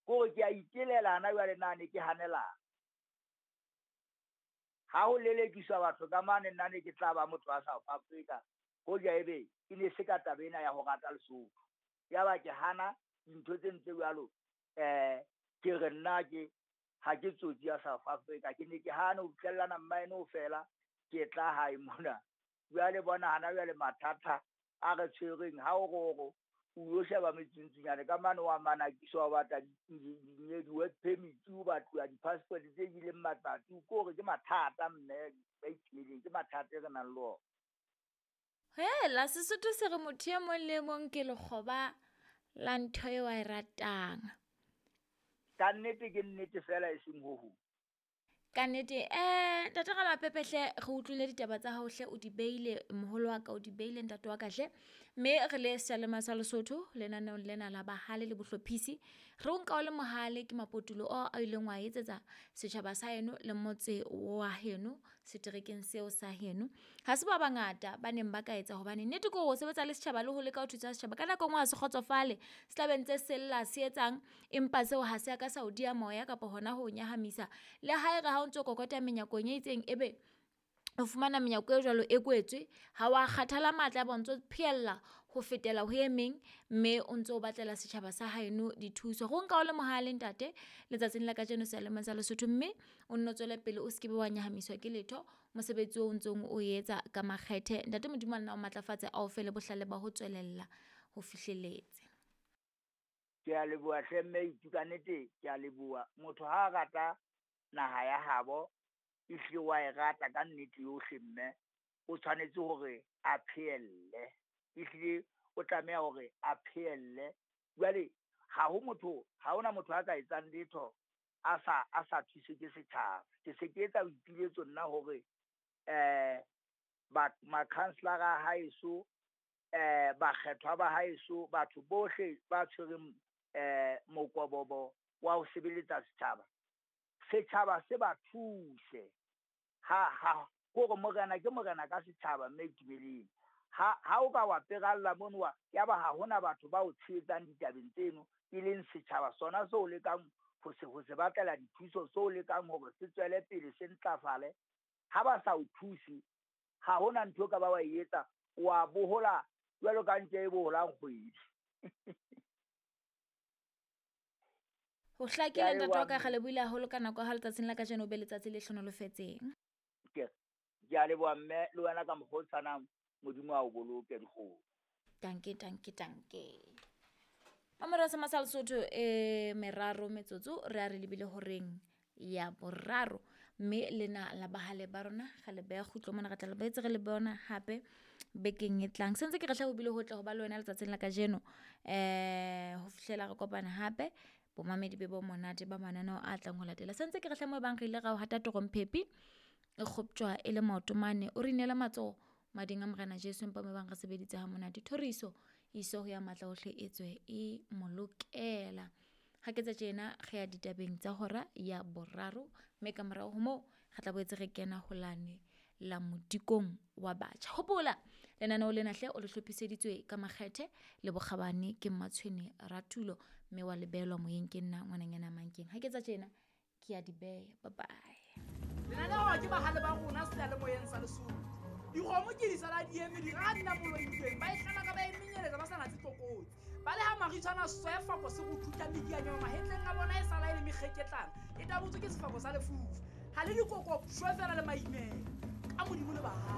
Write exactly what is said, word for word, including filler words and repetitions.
Kore ke a itelela hana jwale na ne ke hanela. Ha ho lelekiswa batho ka mane nna ne ke tla ba motho wa South Africa. Hoja ebe e ne se ka taba ena ya ho rata Lesotho. Yaba ke hana dintho tse ntse jwalo, eh ke re nna ke ha ke tsotsi ya South Africa. Ke ne ke hana ho fihlellana mmaene ho fela ke tla hae mona. Jwale bona hana jwale mathata a re tshwereng ha o roro o yo sheba metsuntsunyane ka mane wa manakiswa o batla di-work permit, o batluwa di-passport tse bileng matsatsi. Ko hore ke mathata mme ba itlileng ke mathata e re nang le ona. Hela Sesotho se re motho e mong le mong ke lekgoba la ntho eo a e ratang. Ka nnete ke nnete fela e seng ho hong. Ka nnete eh ntate Ramapepe hle re utlwile ditaba tsa hao hle o di beile moholo wa ka o di beile ntate wa ka hle. Mme re le seyalemoya sa Lesotho lenaneong lena la bahale le bohlophisi. Re o nka o le mohale ke mapotulo ao a ileng wa etsetsa setjhaba sa heno le motse wa heno seterekeng seo sa heno. Ha se ba bangata ba neng ba ka etsa hobane nnete ke hore o sebetsa le setjhaba le ho leka ho thusa setjhaba. Ka nako e nngwe ha se kgotsofale se tla be ntse sella se etsang empa seo ha se a ka sa o diya moya kapa hona ho nyahamisa. Le ha e re ha o ntso kokota menyakong e itseng ebe o fumana menyako e jwalo e kwetswe ha wa kgathala matla ba ntso phehella ho fetela ho e meng mme o ntso o batlela setjhaba sa haeno dithuso. Re o nka o le mohale ntate letsatsing la kajeno seyalemoyeng sa Lesotho mme o nno tswele pele o se ke be wa nyahamiswa ke letho mosebetsi o ntsong o etsa ka makgethe. Ntate Modimo a nna o matlafatse a o fe le bohlale ba ho tswelella ho fihleletse. Ke a leboha hle mme Itu, ka nnete ke a leboha. Motho ha a rata naha ya habo ehlile wa e rata ka nnete yohle mme o tshwanetse hore a phehelle. Ehlile o tlameha hore a phehelle. Jwale ha ho motho, ha hona motho a ka etsang letho a sa a sa thuswe ke setjhaba. Ke se ke etsa boipiletso nna hore eh ba makhanselara a haeso, eh bakgethwa ba haeso, batho bohle ba tshwereng eh mokobobo wa ho sebeletsa setjhaba. Setjhaba se ba thuse. Ha ha hore morena ke morena ka setjhaba mme Itumeleng. Ha ha o ka wa peralla mono wa ya ba ha hona batho ba o tshehetsang ditabeng tseno e leng setjhaba sona seo lekang ho se ho se batlela dithuso seo lekang hore se tswele pele se ntlafale. Ha ba sa o thuse ha hona ntho ka ba wa e etsa wa bohola jwalo ka ntje e boholang kgwedi. Ho hlakile ntate wa ka, re lebohile haholo ka nako ya hao letsatsing la kajeno, o be letsatsi le hlohonolofetseng. Ke ke a leboha mme le wena ka mokgwa o tshwanang, Modimo a o boloke dikgomo. Danke, danke, danke. Mamora sa Masal Sotho e meraro metsotso re a re lebile horeng ya boraro mme lena la bahale ba rona ga le beha kgutlo mona re tla le boetse re le bona hape bekeng e tlang. Sentse ke re hle ho bile ho tle ho ba le wena letsatsing la kajeno eh ho fihlela re kopana hape bomamedi be bo monate ba mananeo a tlang ho latela. Sentse ke re hle mo bang re ile ra o hata toromphepi e kgoptjwa e le maoto mane o re inela matsoho mading a Morena Jesu empa mo bang re sebeditse ha monate. Thoriso iso ho ya matla ohle e tswe e molokela. Ha ke tsa tjena re ya ditabeng tsa hora ya boraro mme ka morao ho moo re tla boetse re kena ho lane la modikong wa batjha. Hopola lenaneo lena hle o le hlophiseditswe ka makgethe le bokgabane ke Mmatshwene Ratulo mme wa lebelwa moyeng ke nna ngwananyana Mankeng. Ha ke tsa tjena ke ya di beha. Bye bye. Lenaneo ke bahale ba rona seyalemoyeng sa Lesotho. Dikgomo ke di sala di eme di ra nna moloitsweng ba e hlala ka ba e menyeletsa ba sa natse tlokotsi. Ba le ha maritshwana sefako se go thuta medianyana mahetleng a bona e sala e le mekgeketlana e tabotswe ke sefako sa lefufa. Ha le dikoko shwe fela le maimela ka Modimo le bahale.